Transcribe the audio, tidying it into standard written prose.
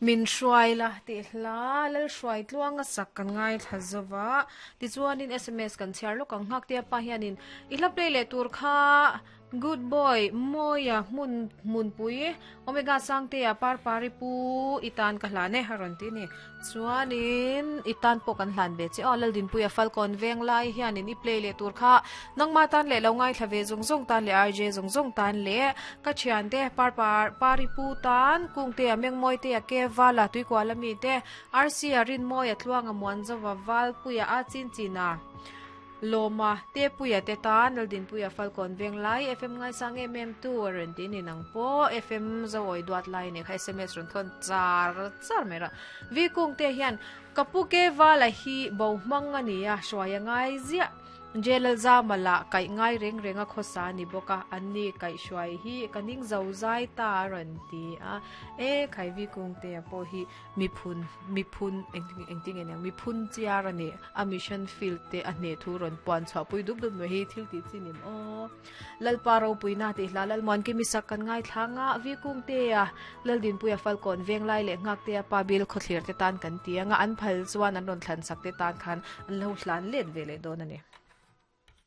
Min hruai la tih hla Lalhruai tluanga sak kan ngaithla zo va, tichuanin sms kan chhiar lawk ang nghak tia pa hianin i hla play leh tur kha Good boy Mawia hmun hmunpui Omega Sangtea Parpari pu i tan ka hlan e a rawn ti a ni. Chuanin i tan pawh kan hlan ve che aw Laldinpuia Falkawn veng lai hianin i play leh tur kha nangma tan leh lo ngaithla ve zawng zawng tan leh RJ zawng zawng tan leh ka thiante Parpar Pari pu tan Kungtea Mengmawitea Ke Vala Tuikuala mite Rc-a Rinmawia Tluanga Muanzova Valpuia a chin china Lawma, Tepuia te tan Laldinpuia Falkawn veng lai FM ngaisang em em tu a rawn ti ni nang pawh FM Zoawi duat lai nih kha sms rawn thawn char char mai rawh. Vi Kung te hian ka pu ke vala hi bo hmang a ni a, hruai a ngai ziah. Jail zama lah kaih ngai reng reng a khawsa a ni bawk a, an ni kaih hruai hi ka ning zo zai ta a rawn ti a. E khai Vi Kung te pawh hi Miphun, miphun, engtin nge niang, miphun chiar a ni. A mission field te a hneh thu rawn puan chhuah pui dup dup mai hi thil tih chi nim aw. Lalpa ropuina tih hla Lalmuan Kimi sak kan ngaithla nga Vikung te a Laldinpuia Falkawn Venglai leh Nghaktea pa bil khawthlir te tan kan ti anga an phal chuan an rawn thlan sak te tan khan an lo hlan let ve leh dawn a ni.